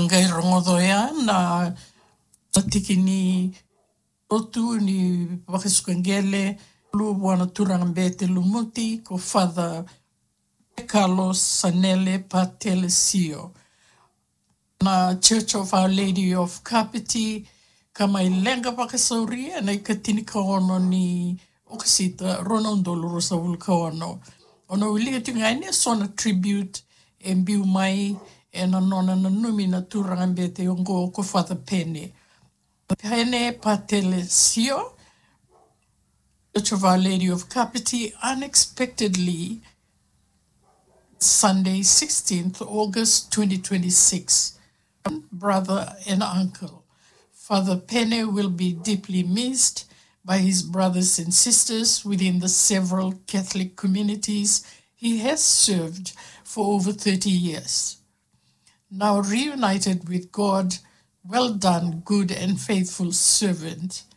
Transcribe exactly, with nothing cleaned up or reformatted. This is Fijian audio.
Qai rogoca ya na tiki ni lotu ni vakasuka qele, luvua na turaga bete lumuti, ko Father Carlos Sanele Patelesio. Na Church of Our Lady of Kapiti, ka mai leqa vakasauria na ikatini ka ono ni Okosita, rua na udolu ruasagavulu ka ono. O na wilika tiko ga yani eso na tribute e biu mai ena nona nanumi na turaga bete oqo ko Father Pene. Pene Patelesio, Church of Our Lady of Kapiti, unexpectedly, Sunday, sixteenth August twenty twenty-six. Brother and uncle. Father Pene will be deeply missed by his brothers and sisters within the several Catholic communities he has served for over thirty years. Now reunited with God, well done, good and faithful servant.